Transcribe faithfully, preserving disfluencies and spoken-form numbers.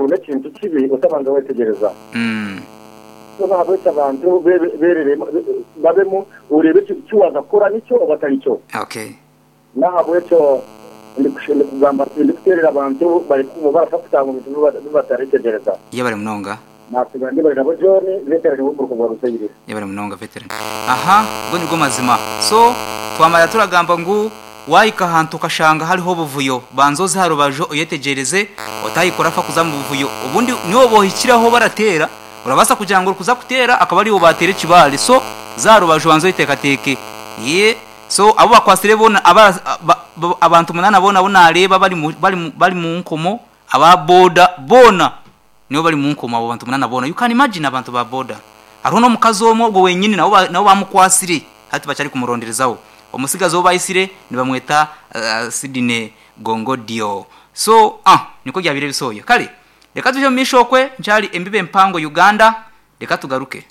N'ekintu kibi otabanza wetegereza. Mm. So nahabwekyo abantu bebe- bereremu babemu orebe eki kiwaza kukora nikyo oba atari kyo. Okay. Nahabwekyo ndikushe- ndikugamba ndikuterera abantu bari barasa kutanga omu bintu biba- bibataritegereza. Yebare munonga. Nasiga ndi bari nabo John veterani w'omuruko gwa Rusayire. Yebare munonga, veteran. Aha, go nigwo mazima. So twamara turagamba ngu wahika ahantu ukashanga hariho obuvuyo, banza oze aha rubaju oyetegereze, otayikora fa kuza mu buvuyo. Obundi niwe bohikiraho baratera, urabaasa kugira ngu orikuza kuteera akaba ariwe bateera ekibaare. So za rubaju, banza oyeteekateeke. Ye so abo bakwasire boona aba, ba, ba, abantu munana boona abu nareeba bari mu, bari mu, bari mu nkomo, aba boda boona nibo bari mu nkomo, abo bantu munana boona. You can imagine, abantu ba boda. Hariho n'omukazi omwe ogwo wenyini nabo ba- nabo bamukwasire, hati bakyari kumuronderezaho. Omusigazi ou bayisire nibamweta uh, Sydney Gongodio. So ah niko byabire bisoya. Kale reka tuje mu maisho okwe nkyari embibe empango Uganda, reka tugaruke.